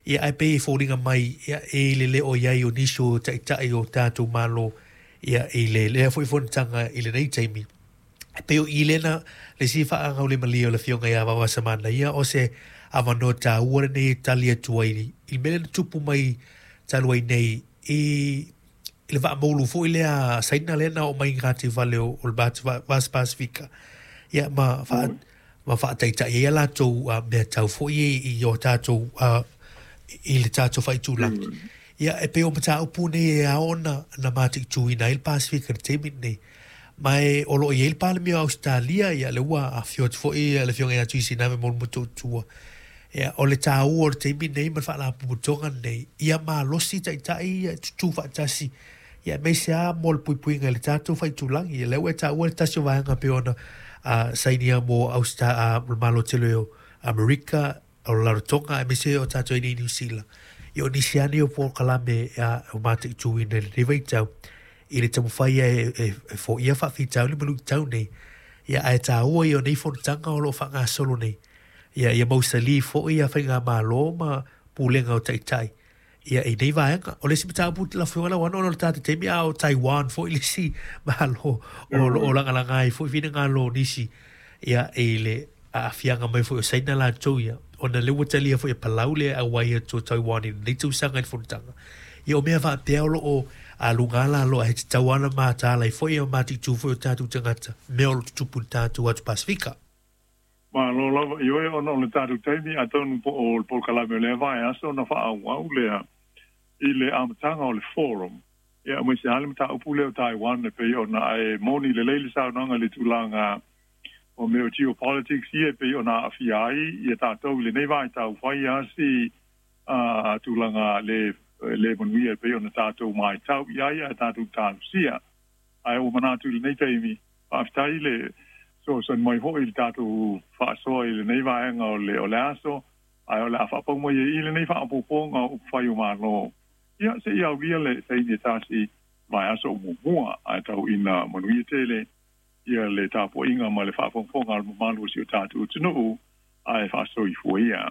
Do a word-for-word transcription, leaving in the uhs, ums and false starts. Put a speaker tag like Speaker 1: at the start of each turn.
Speaker 1: Ia ae pei e foliga mai ia e i le lē o i ai o nisi o taʻitaʻi o tatou Malo ia i le lea foi fonotaga i lenei taimi. E pei o i lena le isi faagaulimalia o le afioga iā Vaovasamanaia o se avanoa tāua lenei e tali atu ai i le mea lea na tupu mai talu ai nei i i le vaamoulu foi lea Saina lea na oo mai i gataifale o le Vasa Pasefika ia ma faa ma faataitai ai a latou mea tau foi i o tatou i le tatou faaitulagi. Ia e pei o mataupu nei e ao ona na mataituina ai le Pasefika i le taimi lenei. Ma e o loo i ai le Palemia o Ausetalia, ia le ua afio atu foi le afioga ia Tuisinave mo le Motootua. Ia o le tāua o le taimi nei ma le faalapotopotoga lenei ia malosi taitai ia tutū faatasi ia aemaise lava mo le puipuiga i le tatou faaitulagi. Ia lea ua e taua le tasi o vaega pei ona uh, sainia mo Austa, uh, le Malo tele o Amerika o le Rarotoga aemaise o tatou i Niu Sila. Ia o nisi lava nei o polokalame o mataituina i lenei vaitau i le taumafai e, e, e foia faafitauli ma luitau nei. Ia ae tāua ia o nei fonotaga o loo faagasolo nei. Ia ia mausali foi ia faigamalo ma pulega o taitai ia i nei vaega. O le isi mataupu lau afioga Lauano ona o le tatou taimi a o Taiwan foi le isi malo o loo lagalaga ai foi finagalo o nisi ia i le aafiaga mai foi o Saina latou ia ona lea ua talia foi e Palau le auai atu o Taiwan i lenei tausaga i le fonotaga. Ia o mea faapea o loo a luga lalo ae tatau lava ona mataala ai foi ma mataitu foi o tatou tagata mea o lo tutupu i le tatou atu Pasefika.
Speaker 2: Malo lava ioe ona o le tatou taimi atonu po o le polokalame o lea vaiaso ona faaauau lea i le amataga o le forum. Ia aemaise lava le mataupu lea o Taiwan e pei ona ae moni lelei le saunoaga i le tulaga o mea o geopolitics ia e pei ona aafia ai ia tatou i lenei vaitau fai lava si a tulaga le le manuia e pei ona tatou matau i ai ae tatou talosia. Ae ua manatu i lenei taimi faafetai le fesoasoani mai foi i le tatou faasoa i lenei vaega o le o le aso ae o le a faapau mai ai i lenei faaopoopoga o upufai o Malo. Ia seia aulia le taimi e tasi vaiaso o muamua ae tau ina manuia tele ia le tapuaiga ma le faafogafoga a le mamalu o si o tatou atunuu ae faasoifua ia.